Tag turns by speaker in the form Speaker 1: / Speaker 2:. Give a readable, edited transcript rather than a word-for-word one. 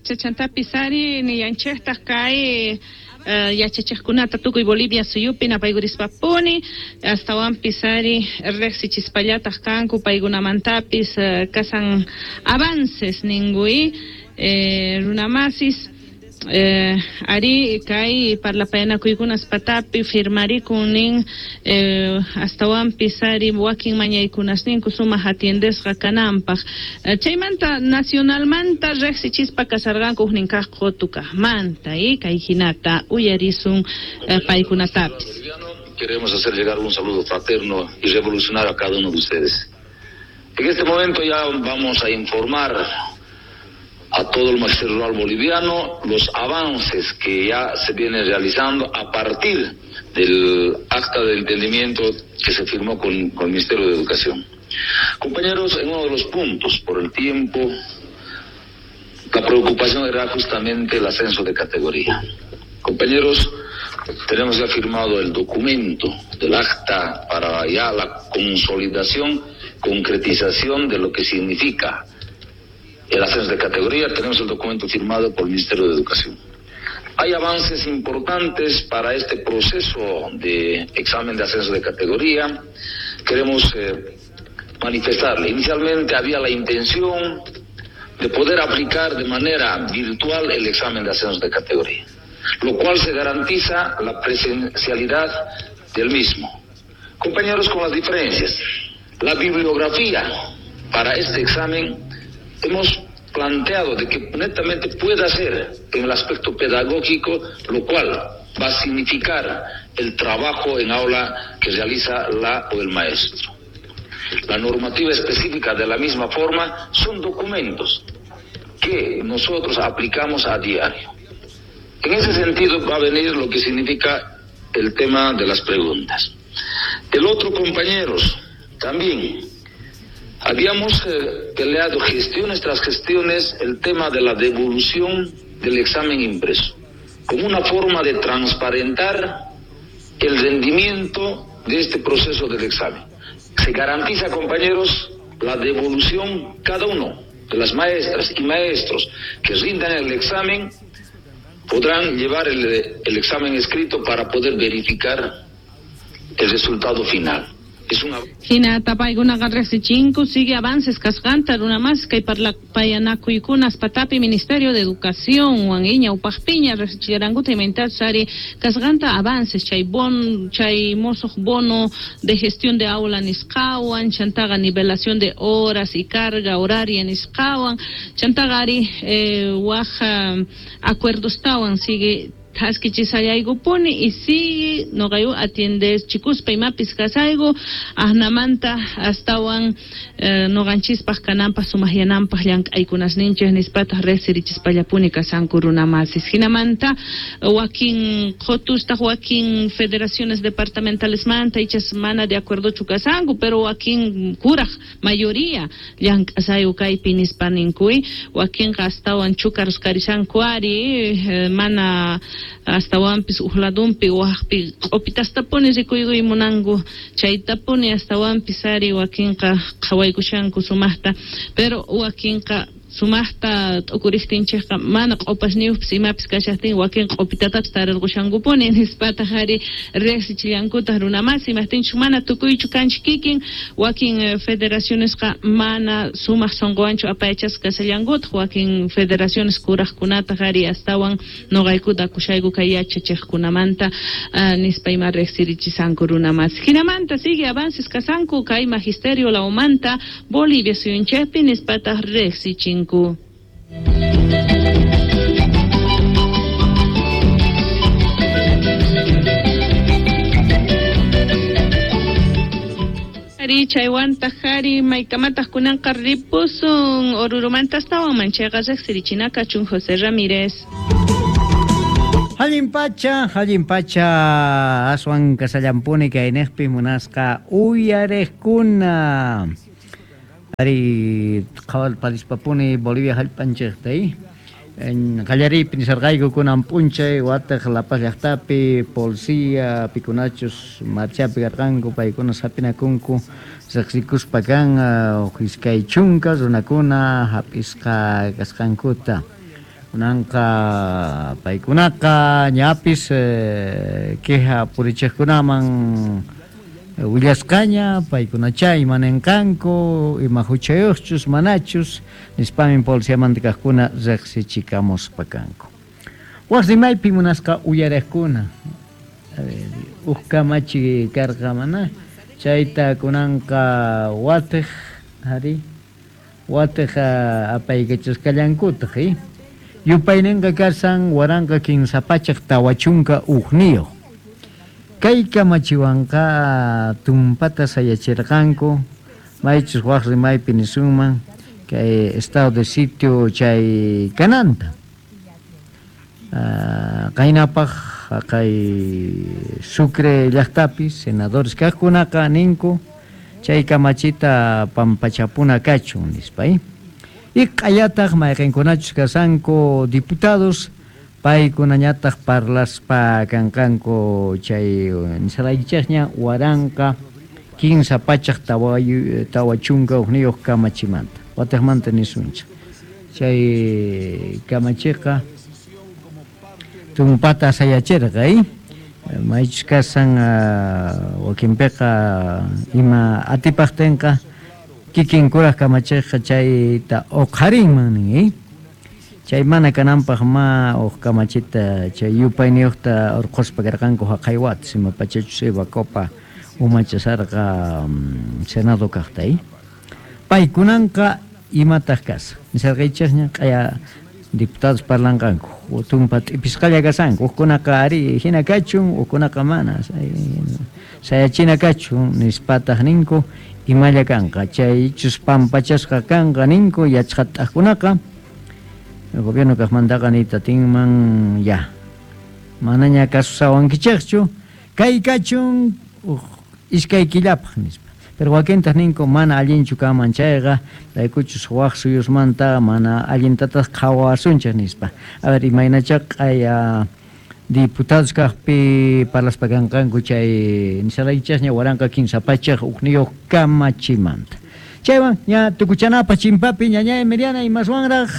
Speaker 1: pacha chantapis ari nillanchiktaq kay yachachiqkunata tukuy Bolivia suyupi napaykurispa-puni astawanpis ari riqsichispallataq kanku paykunamantapis kasan avances ninkuy runamasis ari kay parlapayanakuykunas patapi firmarikun nin astawanpis ari wakin mañaykunasninku sumaq atiendesqa kananpaq chaymanta nacionalmanta riqsichispa kasarqanku huknin kaq qutu kaqmanta kay hinata uyarisun paykunatapis.
Speaker 2: Queremos hacer llegar un saludo fraterno y revolucionario a cada uno de ustedes. En este momento ya vamos a informar a todo el magisterio rural boliviano los avances que ya se vienen realizando a partir del acta de entendimiento que se firmó con el Ministerio de Educación. Compañeros, en uno de los puntos, por el tiempo, la preocupación era justamente el ascenso de categoría. Compañeros, tenemos ya firmado el documento del acta para ya la consolidación, concretización de lo que significa el ascenso de categoría. Tenemos el documento firmado por el Ministerio de Educación. Hay avances importantes para este proceso de examen de ascenso de categoría. Queremos manifestarle. Inicialmente había la intención de poder aplicar de manera virtual el examen de ascenso de categoría, lo cual se garantiza la presencialidad del mismo. Compañeros, con las diferencias, la bibliografía para este examen hemos planteado de que netamente pueda ser en el aspecto pedagógico, lo cual va a significar el trabajo en aula que realiza la o el maestro. La normativa específica de la misma forma son documentos que nosotros aplicamos a diario. En ese sentido va a venir lo que significa el tema de las preguntas. El otro, compañeros, también habíamos peleado gestiones tras gestiones el tema de la devolución del examen impreso, como una forma de transparentar el rendimiento de este proceso del examen. Se garantiza, compañeros, la devolución cada uno de las maestras y maestros que rindan el examen podrán llevar el examen escrito para poder verificar el resultado final. Es una...
Speaker 1: Hinata paykunaqa riqsichinku sigue avances kasqanta runamas kay parlapayanakuykunas patapi Ministerio de Educación wan ñawpaqpiña riqsichirankuta imaynatachus ari kasqanta avances chay bon chay musuq bono de gestión de aula nisqawan chantaqa nivelación de horas y carga horaria nisqawan chantaqa ari waq acuerdostawan sigue thaskichisallaykupuni y sigue noqayu atiendes chikuspa imapis kasayku asnamanta astawan noqanchispaq kananpaq sumaqyananpaq llank'aykunasninchik nispataq riqsirichispallapuni kasanku runamasis. Hinamanta wakin qhotustaq wakin federaciones departamentalesmanta ichas mana de acuerdochu kasanku pero wakin kuraq mayoría llank'asayku kaypi nispa ninkuy wakinqa astawan chukarus karishanku ari mana astawanpis uqladunpi waqpi q'upitastapuni rikuykuy munanku chaytapuni astawanpis ari wakinqa qhawaykushanku sumaqta pero wakinqa sumaqta t'ukuriqtinchikqa mana q'upasniyuqpis imapis kashaqtin wakin q'upitatapis tarirqushankupuni nispataq ari riqsichillankutaq runamasi imaqtinchik mana tukuychu kanchik kikin wakin federacionesqa mana sumaq sunquwanchu apayachasqa kashallankutaq wakin federaciones kuraqkunataq ari astawan nuqaykuta akushayku kay yachachiqkunamanta nispa ima riqsirichisanku runamasi. Hinamanta sigue avances kasanku kay magisterio lawmanta Bolivia suyunchikpi nispataq riqsichinku. Ari chaywantaq ari maykamataq kunanqa ripusun Orurumanta astawan manchayqa riqsirichina kachun José Ramírez.
Speaker 3: Allin pacha aswan kasallampuni kayniqpi munasqa uyariqkuna. Ari qhawalparispapuni Bolivia hallp'anchikta qallariypi nisarqayku kunan p'unchay wataq La Paz llaqtapi policía pikunachus marchapi karqanku paykuna hap'inakunku riqsikuspa kan huk iskay chunka runakuna hap'isqa kasqankuta. Kunanqa paykunaqa ñapis queja purichiqkunaman willasqaña paykunacha imanenqanku ima huchayuqchus manachus nispamin policiamanta kaqkuna riqsichikamuspa kanku. Waq rimaypi munasqa uyariqkuna uq kamachi karqa mana chayta kunanqa watiq ari watiq apaykachasqallankutaq yupayninqa kasan 1341. Kay kamachiwanqa tumpata sayachirqanku maychus waq rimaypi nisunman kay estado de sitio chay kananta. Qaynapaq kay Sucre llaqtapi senadores kaqkunaqa ninku chay kamachita pampachapuna kachun nispa. Y q'ayataq mayqinkunachus kasanku diputados paykunañataq parlaspa kanqanku chay nisaraykichikña 1341 kamachimanta watiqmanta nisunchik chay kamachiqa tumpata sayachirqa maychus kasan wakinpiqa ima atipaqtinqa kikin kuraq kamachiqqa chayta uqharinman nin chay mana kananpaq ma uq kamachita chay yupayniyuqta urquspa karqanku haqay watas ima pachachus Eva Copa umachasarqa Senado kaqta paykunanqa imataq kasa nisarqaychikña q'aya diputados parlanqanku tumpa t'ipisqalla kasanku hukkunaqa ari hina kachun hukkunaqa mana sayachina kachun nispataq ninku imalla kanqa chaychus pampachasqa kanqa ninku yachqat'aqkunaqa el gobierno kaqmantaqa niyta tinman ya manaña kasusawankichikchu kay kachun iskay killapaq nispa pero wakintaq ninku mana allinchu kanman chayqa raykuchus waq suyusmanta mana allintataq qhawasunchik nispa. A ver imaynacha q'aya diputados kaqpi parlaspa kanqanku chay nisaraykichikña 1301 kamachimanta. Chaywan ña tukuchanapaq chimpapi ñañay Miriana imaswanraq.